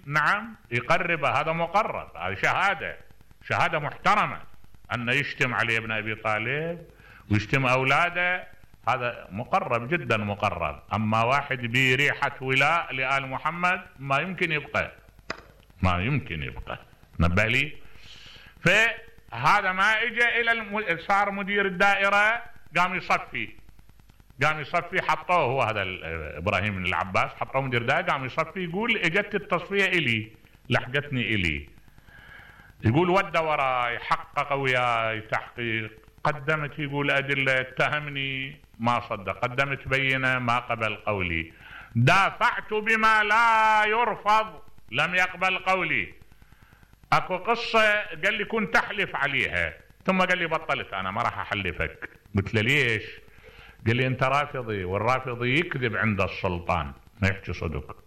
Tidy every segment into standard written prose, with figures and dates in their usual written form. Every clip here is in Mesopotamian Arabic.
نعم يقرب، هذا مقرب، هذه شهادة محترمة، أن يشتم علي بن أبي طالب ويشتم أولاده، هذا مقرب جدا مقرب. أما واحد بريحة ولاء لآل محمد ما يمكن يبقى، نبه لي. فهذا ما اجى إلى صار مدير الدائرة، قام يصفي حطوه هو هذا إبراهيم بن العباس، حطوه مدير دائرة، قام يصفي، يقول اجت التصفية إلي، لحقتني إلي، يقول ود وراي، حقق وياي تحقيق، قدمت يقول أدلة، اتهمني ما صدق، قدمت بينة ما قبل قولي، دافعت بما لا يرفض لم يقبل قولي. اكو قصة قال لي كنت تحلف عليها، ثم قال لي بطلت، انا ما راح احلفك. قلت له ليش؟ قال لي انت رافضي، والرافضي يكذب عند السلطان ما يحكي صدق.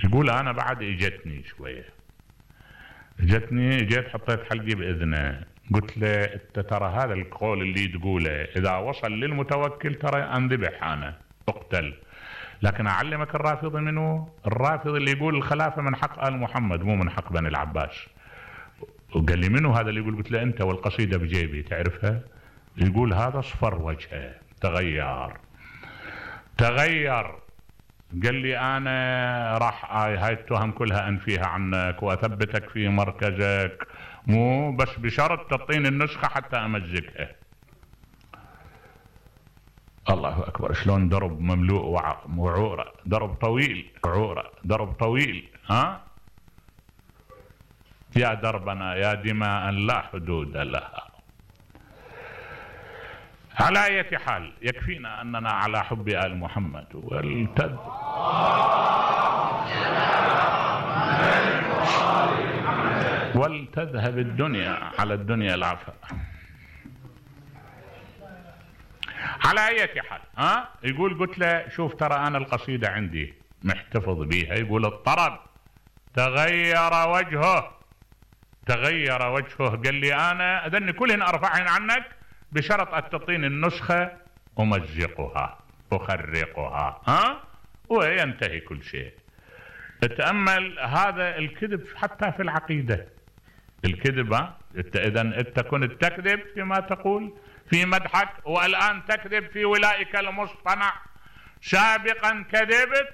يقول انا بعد اجتني شوية، جيت حطيت حلقي باذنه، قلت له انت ترى هذا القول اللي تقوله اذا وصل للمتوكل ترى انذبح انا اقتل، لكن اعلمك الرافضي منه، الرافضي اللي يقول الخلافة من حق آل محمد مو من حق بني العباس. وقال لي منه هذا اللي يقول؟ قلت له انت والقصيدة بجيبي تعرفها؟ يقول هذا اصفر وجهه، تغير. قال لي انا راح هاي التهم كلها انفيها عنك واثبتك في مركزك، مو بس بشرط تعطيني النسخة حتى امزقها. الله اكبر، شلون درب مملوء وعورة، درب طويل، ها يا دربنا يا دماء لا حدود لها. على أي حال يكفينا أننا على حب آل محمد، ولتذهب الدنيا على الدنيا العفا. على أي حال يقول قلت له شوف ترى أنا القصيدة عندي محتفظ بيها، يقول الطرب تغير وجهه. قال لي أنا أذني كلهن أرفعهن عنك بشرط أن تعطيني النسخة أمزقها أخرقها وينتهي كل شيء. تأمل هذا الكذب حتى في العقيدة، الكذب إذا أنت كنت تكذب فيما تقول في مدحك، والآن تكذب في ولائك المصطنع. سابقا كذبت،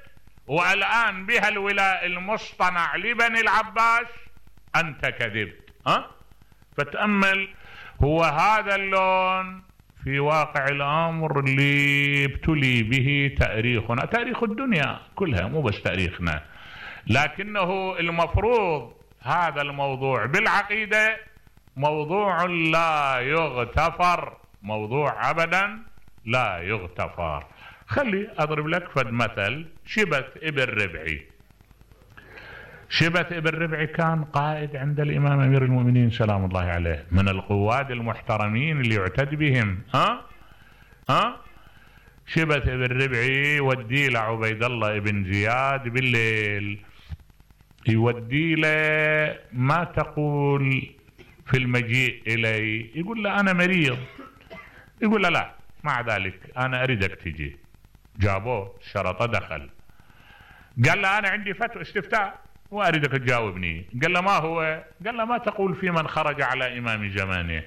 والآن بها الولاء المصطنع لبني العباس أنت كذبت. فتأمل، هو هذا اللون في واقع الأمر اللي ابتلي به تاريخنا، تاريخ الدنيا كلها مو بس تاريخنا، لكنه المفروض هذا الموضوع بالعقيدة موضوع لا يغتفر، موضوع أبدا لا يغتفر. خلي أضرب لك فد مثل. شبث ابن ربعي كان قائد عند الإمام أمير المؤمنين سلام الله عليه، من القواد المحترمين اللي يعتد بهم. شبث ابن ربعي يودي له عبيد الله ابن زياد بالليل، يودي له ما تقول في المجيء إلي، يقول له أنا مريض، يقول له لا مع ذلك أنا أريدك تجي. جابوه شرطه دخل، قال له أنا عندي فتوى استفتاء وأريدك تجاوبني. قال له ما هو؟ قال له ما تقول في من خرج على إمام زمانه.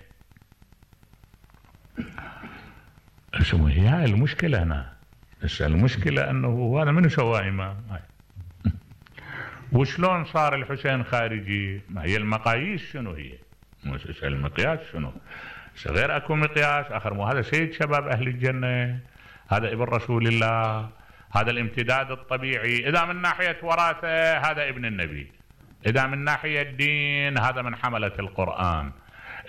شو هي هاي المشكلة هنا؟ المشكلة أنه هذا منو سوى إمام؟ وشلون صار الحسين خارجي؟ ما هي المقاييس شنو هي؟ المقياس شنو؟ غير أكو مقياس آخر، مو هذا سيد شباب أهل الجنة، هذا ابن رسول الله، هذا الامتداد الطبيعي. إذا من ناحية وراثة هذا ابن النبي، إذا من ناحية الدين هذا من حملة القرآن،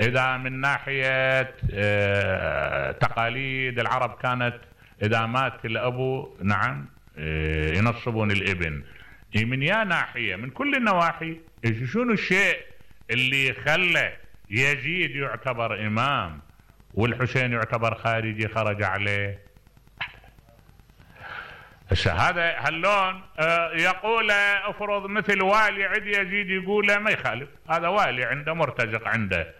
إذا من ناحية تقاليد العرب كانت إذا مات الأبو نعم ينصبون الابن. من يا ناحية من كل النواحي. شنو الشيء اللي خلى يزيد يعتبر إمام والحسين يعتبر خارجي خرج عليه؟ هذا هاللون يقول افرض مثل والي عند يزيد يقول ما يخالف، هذا والي عنده مرتزق عنده،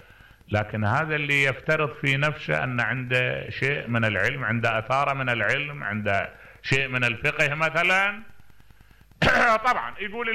لكن هذا اللي يفترض في نفسه أن عنده شيء من العلم، عنده أثار من العلم، عنده شيء من الفقه مثلا طبعا يقول